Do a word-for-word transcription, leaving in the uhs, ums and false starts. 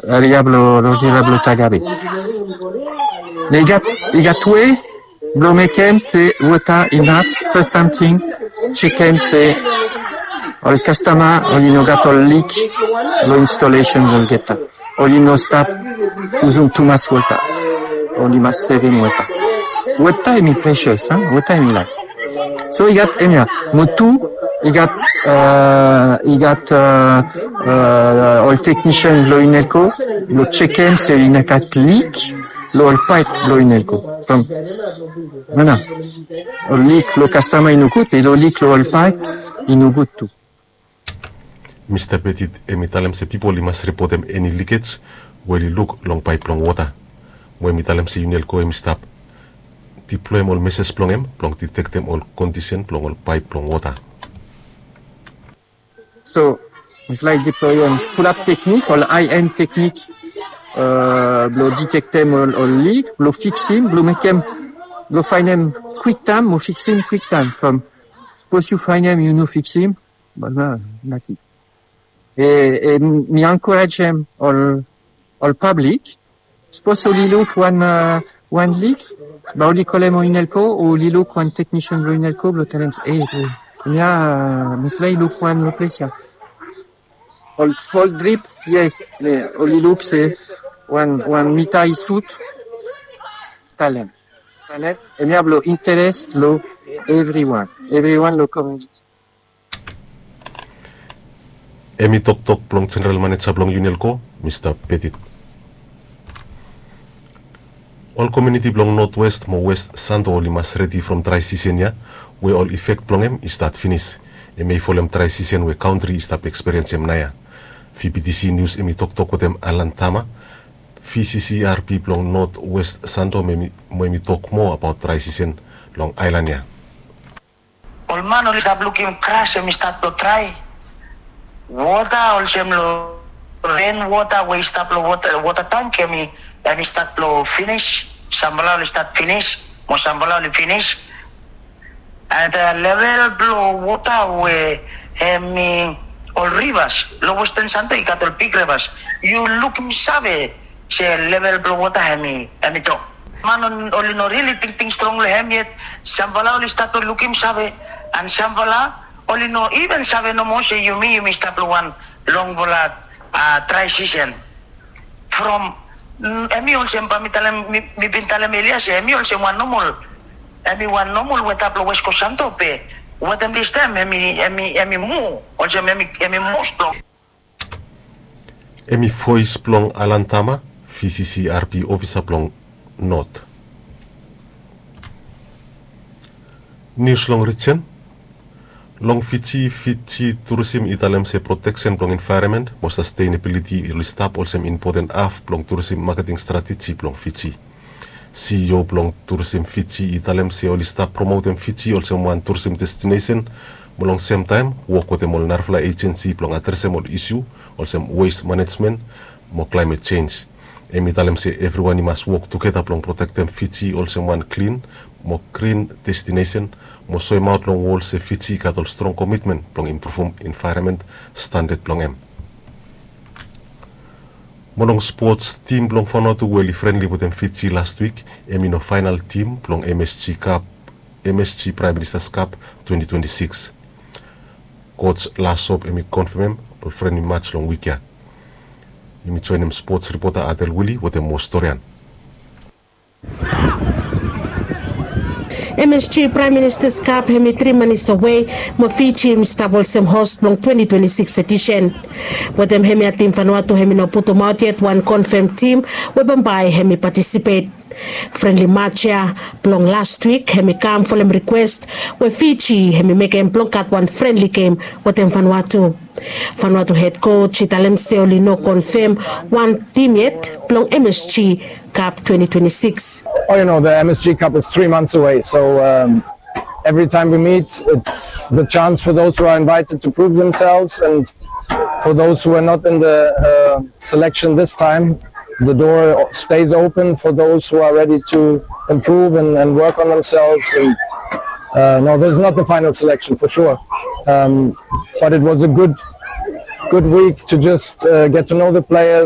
Aria blo rogera blo tagabe. Ne i gat i gat we blo mekem se wota inap. Fes samting jekem se ol kastama oli no gat ol lik lo instolesen blo olgeta. Oli no stap uzum tumas wota. Oli mas sevem wota. Wota hemi presias a wota hemi laef. So i gat hemia mo tu i gat i gat ol teknisian blo inelko blo jekem se i no gat lik lo ol paep blo inelko. From mana ol lik lo kastama i no gud be ol lik lo ol paep i no gud tu. Mista Petit hemi talem se pipol i mas ripotem eni likej we oli luk long paep blong wota. Mo hemi talem se inelko hemi stap diploem ol meses blong hem blong ditektem ol kondisen blong ol paep blong wota. So mifala i diploem fulap teknik ol aien teknik blo ditektem ol lik blo fiksim blo mekem blo faenem kwiktaem mo fiksim kwiktaem from sapos yu faenem yu no fiksim. Bana naki e mi ankorejem ol ol pablik. Sapos oli luk wan wan lik ba oli kolem o inelko o oli luk wan teknisian blo inelko blo talem e hemia mifala i luk wan lo ples ya. Ol sol drip yes. Oli luk se wan wan mita i sut. Talem talem hemia blo interes lo evriwan evriwan lo kominiti. Hemi toktok blong jeneral maneja blong unelko mista Petit. Ol kominiti blong notwest mo west santo oli mas redi from drae sisen ya we ol ifek blong hem i stat finis. Hemi folem drae sisen we kantri i stap eksperiensim naoia. Vptc nius hemi toktok wetem alan tama, vccrp blong notwest santo mo hemi tok moa abaot drae sisen long aelan ya. Ol man oli stap lukim gras hemi stat long drae. Wota olsem long ren wota we i stap long wota tang hemi stat long finis. Samfala oli stat finis mo samfala oli finis. An level blong wota we hemi ol rivas long westen santo i gat ol bik rivas. Yu lukim save se level blong wota hemi hemi tok. Man oli no rili tingting strong long hem yet. Samfala oli stat long lukim save an samfala oli no iven save nomo se yumi yumi stap long wan longfala drae sisen. From hemi olsem ba mi talem mi bin talem elia se hemi olsem wan nomol hemi wan nomol weta blong west coast santo be wetem distaem hemi hemi hemi mu olsem hemi hemi moa strong. Hemi voes blong alan tama, vccrp ofisa blong not. Nius long rijen. Long fiji fiji turisim i talem se proteksen blong envaeronmen mo sastenabiliti oli stap olsem impoten haf blong turisim maketing strateji blong fiji. Ceo blong turisim fiji i talem se oli stap promotem fiji olsem wan turisim destinesen mo long semtaem wok wetem ol narafala ejensi blong adresem ol isu olsem wes manejmen mo klaemet jenj. Hem i talem se evriwan i mas wok tugeta blong protektem fiji olsem wan klin mo grin destinesen mo soemaot long wol se fiji i gat ol strong komitmen blong impruvum envaeronmen standad blong hem. Mo long spots tim blong fanua tu we oli frenli wetem fiji lastwik hem i no faenal tim blong msg kap msg praem ministas kap twenti twenti sikis. Koj lasop hem i konfemem ol frenli mats long wik ya. Hem i joenem spots ripota adel wili wetem moa storian. Msg praem ministas kap hem i tri manis awe mo fiji hem i stap olsem hos blong twenti twenti sikis edisen. Wetem hemia tim fanua tu hem i no putumaot yet wan konfem tim we bambae hem i patisipet. Frenli mats ya blong lastwik hem i kam folem rikwes we fiji hem i mekem blong gat wan frenli gem wetem fanua tu. Fanua tu hed koj i talem se oli no konfem wan tim yet blong msg kap twenti twenti sikis. Oh, you know, the M S G Cup is three months away, so um, every time we meet, it's the chance for those who are invited to prove themselves, and for those who are not in the uh, selection this time, the door stays open for those who are ready to improve and, and work on themselves. And uh, no, this is not the final selection for sure, um, but it was a good, good week to just uh, get to know the players,